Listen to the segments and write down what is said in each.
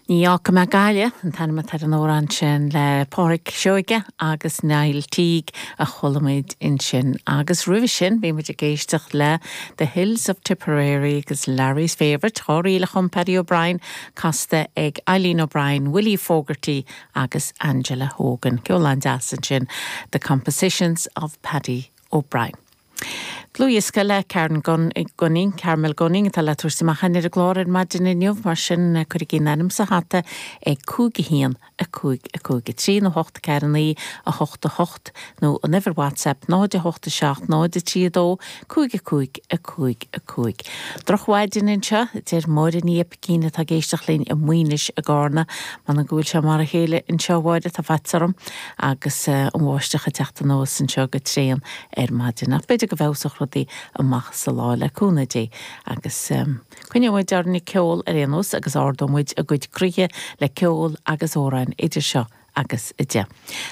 Ní Fhágfaidh Mé Gaillimh an t-ainm atá ar an amhrán sin le Pádraic Seoige agus Niall Teague a chuala muid ansin. Agus roimhe sin bhí muid ag éisteacht le The Hills of Tipperary agus Larry's Favourite, 2 ríl a chum Paddy O'Brien, casta ag Eileen O'Brien, Willie Fogarty agus Angela Hogan. Ceol an-deas ansin, The Compositions of Paddy O'Brien. Dlúthdhiosca le Karen Gunning, Carmel Gunning, atá le tabhairt amach againn ar an gclár ar maidin inniu, mar sin cuirigí an ainm sa hata ag 5 1 5 5 3 nó 8 4 9 8 8 nó an uimhir WhatsApp 0 8 7 0 3 2 5 5 5 5. Drochmhaidin anseo, a deir Máire Ní Oipicín atá ag éisteacht linn i Maínis i gCarna. M'anam go bhfuil sé mar a chéile anseo, a Mháire, tá faitíos orm agus an bháisteach ag teacht anuas anseo go tréan ar maidin. Ach b'fhéidir go bhfeabhsódh rudaí amach sa lá le cúnamh Dé. Agus coinneoidh muid orainn ag ceol ar aon nós agus ardóidh muid a gcuid croíthe le ceol agus amhráin idir seo agus 10.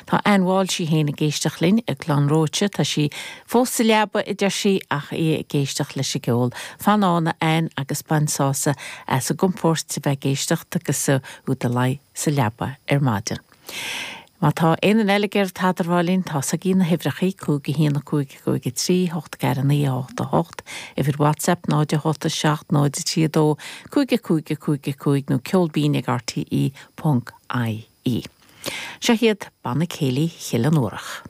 Tá Ann Walsh í féin ag éisteacht linn i gClann Róite. Tá sí fós sa leaba, a deir sí, ach í ag éisteacht leis an gceol. Fan ann, a Ann, agus bain sásamh as an gcompóirt a bheith ag éisteacht agus tú i do luí sa leaba ar maidin. Má tá aon duine eile ag iarraidh tada a rá linn, tá's agaibh na huimhreachaí, 5 1 5 5 3 8 4 9 8 8, uimhir WhatsApp 0 8 7 0 3 2 5 5 5 5 nó ceolbinn ag rte ponc ie. Seo iad Banna Céilí Chill an Fhuarach.